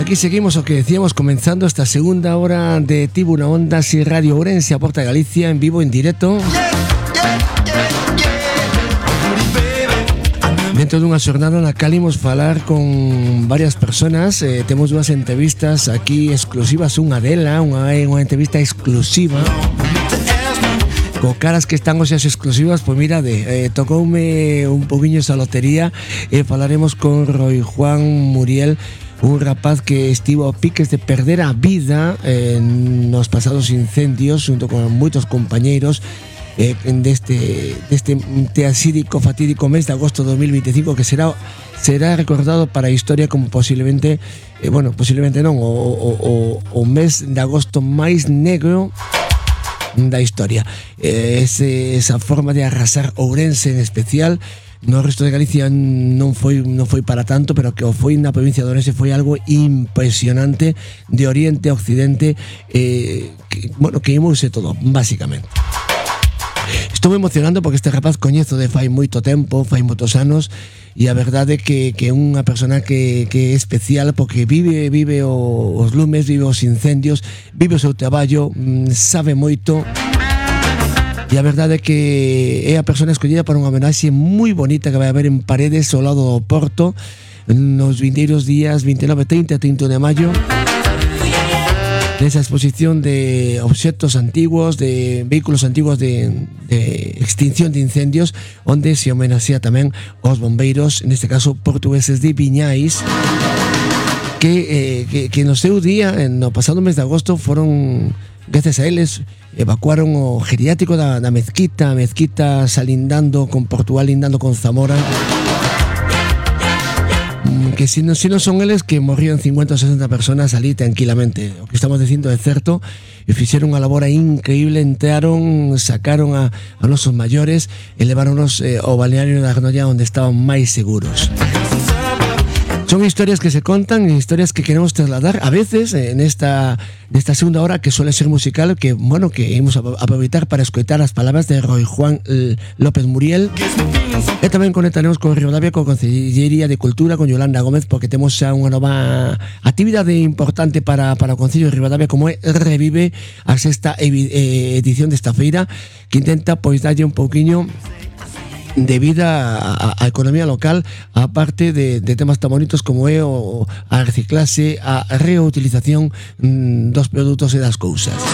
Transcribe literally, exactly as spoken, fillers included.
Aquí seguimos o que decíamos, comenzando esta segunda hora de Tribuna Ondas y Radio Ourense a Porta Galicia en vivo, en directo. Dentro dunha xornada na cal imos falar con varias personas. eh, Temos dúas entrevistas aquí exclusivas. Unha dela, unha, unha entrevista exclusiva co caras que están hoxe as exclusivas. Pois mira, de, eh, tocoume un poquinho esa lotería. E eh, falaremos con Roi Juan Muriel, un rapaz que estivo a piques de perder a vida eh, nos pasados incendios junto con moitos compañeiros eh, deste, deste teasídico, fatídico mes de agosto de dos mil veinticinco, que será será recordado para a historia como posiblemente eh, bueno, posiblemente non o, o, o, o mes de agosto máis negro da historia. eh, ese, esa forma de arrasar Ourense en especial. No resto de Galicia non foi non foi para tanto, pero que o foi na provincia de Ourense foi algo impresionante, de oriente a occidente, eh, que, bueno, que imouse todo, basicamente. Estou emocionando porque este rapaz coñezo de fai moito tempo, fai moitos anos, e a verdade é que, que é unha persona que, que é especial porque vive vive o, os lumes, vive os incendios, vive o seu traballo, sabe moito. E a verdade é que é a persona escollida para unha homenaxe moi bonita que vai haber en Paredes ao lado do Porto nos vindeiros días veintinueve, trinta e trinta de maio, nesa exposición de obxectos antiguos, de vehículos antiguos de, de extinción de incendios, onde se homenaxea tamén aos bombeiros, neste caso portugueses de Viñais, que, eh, que, que no seu día, no pasado mes de agosto, foron, gracias a eles, evacuaron o geriátrico da, da mezquita, a mezquita salindando con Portugal, lindando con Zamora, que si non, si non son eles, que morrían cincuenta ou sesenta personas ali tranquilamente. O que estamos dicindo é certo, e fixeron unha labor increíble, entraron, sacaron a, a nosos maiores e leváronos eh, ao balneario da Arnolla, onde estaban máis seguros. Son historias que se contan, historias que queremos trasladar a veces en esta, nesta segunda hora, que suele ser musical, que bueno, que imos a aproveitar para escoitar as palabras de Roi Juan López Muriel. E tamén conectaremos con Ribadavia, con Concellería de Cultura, con Yolanda Gómez, porque temos xa unha nova actividade importante para, para o Concello de Ribadavia, como é Revive, a sexta edición desta feira, que intenta pois darlle un pouquiño de vida a, a economía local, a parte de, de temas tan bonitos como é o, a reciclase, a reutilización mm, dos produtos e das cousas.